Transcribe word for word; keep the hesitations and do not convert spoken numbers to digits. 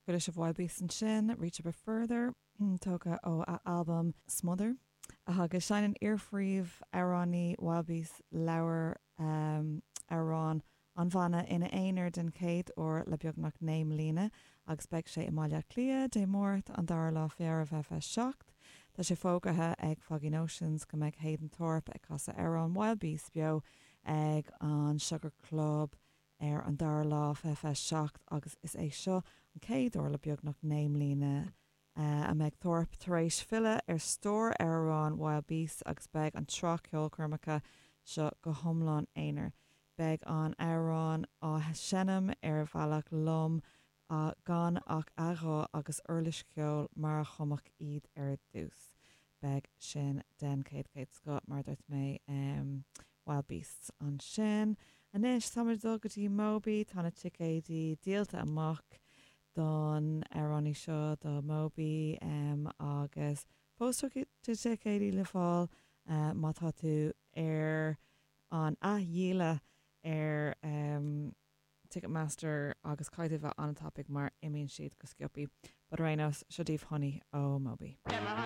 Chuala sibh Wild Beasts ansin, Reach a Bit Further, tógtha ó a albam Smother. Agus seinneann iar-phríomhamhránaí Wild Beasts leabhar um, amhrán an bhanna ina aonar den chéad uair le beagnach naoi mbliana agus beidh sé i mBaile Átha Cliath Dé Máirt an dara lá Feabhra fiche fiche seacht. Tá sé fógartha ag Foggy Notions go mbeidh Hayden Thorpe ag casadh amhrán Wild Beasts beo ag an Sugar Club ar an dara lá fiche fiche seacht agus is é seo an chéad uair le beagnach naoi mbliana uh, a mbeidh Thorpe tar éis filleadh ar stór amhrán Wild Beasts agus beidh an tsraith ceolchoirmeacha seo go hiomlán aonair. Beidh an amhrán á seinm ar bhealach lom uh, gan ach a ghuth agus uirlis cheoil mar a chumadh iad ar dtús. Beidh sin den chéad chéad scoth mar dúirt mé um, Wild Beasts ansin. Anois tá dul go dtí Moby tá na ticéidí díolta amach don amhránaí seo do Moby um, agus fós ticéidí le fáil uh, má tá tú ar an athdhíola ar um, Ticketmaster agus caithfidh bheith an-tapaidh mar imíonn siad go sciobtha. But ar aon nós seo daoibh Honey ó Moby.